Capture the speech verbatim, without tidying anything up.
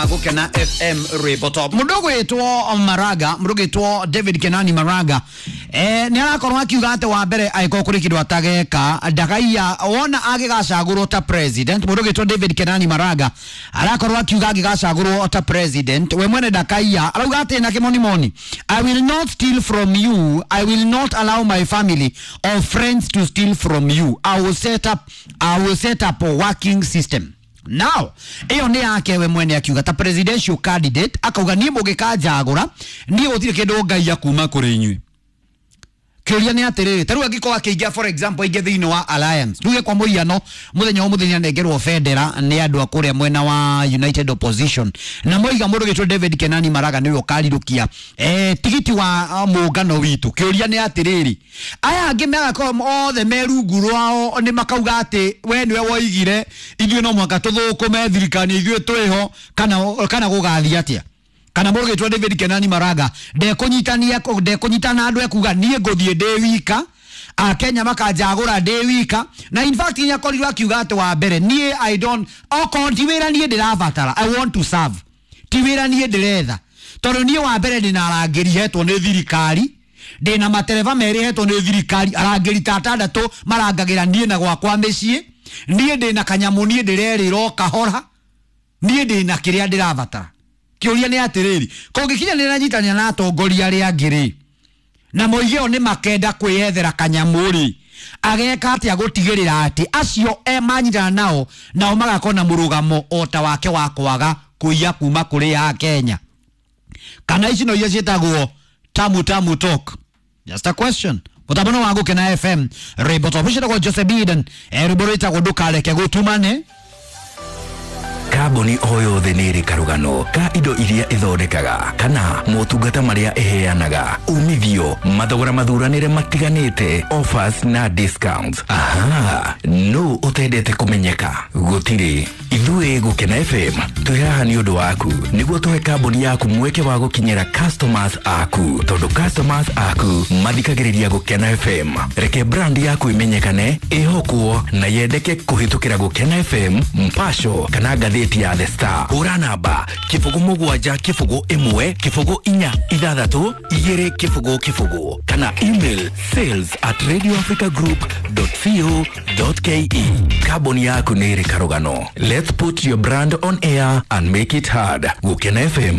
Gukena F M rwimbo top. Mundu gwitwo Maraga, mundu gwitwo David Kenani Maraga, eh ni arakorwo akiuga ati wa mbere aikorwo kuri kindu atageka ndagaiya wona agigacagurwo ta president. Mundu gwitwo David Kenani Maraga arakorwo akiuga agigacagurwo ta president we mwene ndakaiya, arauga ati na kimonimoni, I will not steal from you, I will not allow my family or friends to steal from you, I will set up, I will set up a working system. Now, iyo ni yake we mwene akiuga ta presidential candidate akauga ni mũgĩkanjagũra niĩ gũtirĩ kĩndũ ngaiya kuma kũrĩ inyuĩ. Kĩũria nĩ atĩrĩrĩ, ta rĩu angĩkorwo akĩingĩra for example aingĩ thĩinĩ wa alliance, tuge kwa mũhiano mũthenya wa mũthenya nengerwo bendera nĩ andũ a kũrĩa mwena wa United Opposition na moiga mũndũ gĩtwo David Kenani Maraga nĩwe ũkarirũkia eh, tigiti wa mũngano witũ. Kĩũria nĩ atĩrĩrĩ, aya angĩ magakorwo othe me rungu rwao nĩ makauga atĩ we nĩwe woigire ithuĩ no mũhaka tũthũkũme thirikari ithuĩ twĩho, kana kana gũgathiĩ atĩa? Kana mũndũ gĩtwo David Kenani Maraga ndekũnyitania ndekũnyitana andũ ekuga niĩ ngũthiĩ ndĩ wika, Akenya makanjagũra ndĩ wika. Na in fact nĩ akorirwo akiuga atĩ wa mbere niĩ I don't, okorwo ti wĩra niĩ ndĩrabatara, I want to serve, ti wĩra niĩ ndĩretha, tondũ niĩ wa mbere ndĩna arangĩri hetwo nĩ thirikari, ndĩna matereba merĩ hetwo nĩ thirikari, arangĩri ta atandatũ marangagĩra niĩ na gwakwa mĩciĩ, niĩ ndĩna kanyamũ niĩ ndĩrerĩra o kahora, niĩ ndĩna kĩrĩa ndĩrabatara. Kĩũria nĩ atĩrĩrĩ, kũngĩkinya nĩ nanyitania na atongoria arĩa angĩ rĩ, na moige o nĩ makenda kwĩyethera kanyamũ rĩ, ageka atĩa gũtigĩrĩra atĩ acio e manyitana nao nao magakorwo na mũrũgamo o ta wake wa kwaga kũiya kuma kũrĩ ya Kenya? Kana ici no iria ciĩtagwo tamu tamu talk? Just a question. Mũtambo wa Gũkena F M rwĩmbo top ũcio wĩtagwo Jose Biden, rwĩmbo rwĩtagwo ndũkareke gũtumane. Kambuni o yothe nĩ ĩrĩ karũgano ka indo iria ĩthondekaga kana motungata marĩa ĩheanaga, umithio, mathogora mathuranĩre matiganĩte, offers na discounts. Aha, no ũtendete kũmenyeka? Gũtirĩ. Ithuĩ Gũkena F M twĩ haha nĩ ũndũ waku, nĩguo tũhe kambuni yaku mweke wa gũkinyĩra customers aku, tondũ customers aku mathikagĩrĩria Gũkena F M. Reke brand yaku ĩmenyekane, ĩhokwo na yendeke kũhĩtũkĩra Gũkena F M, Mpasho kana ngathĩti ya The Star. Hũra namba kĩbũgũ mũgwanja kĩbũgũ ĩmwe kĩbũgũ inya ithathatũ igĩrĩ kĩbũgũ kĩbũgũ kana email sales at radio africa group dot co dot ke. Kambuni yaku nĩ ĩrĩ karũgano. Let's put your brand on air and make it hard. Gũkena F M.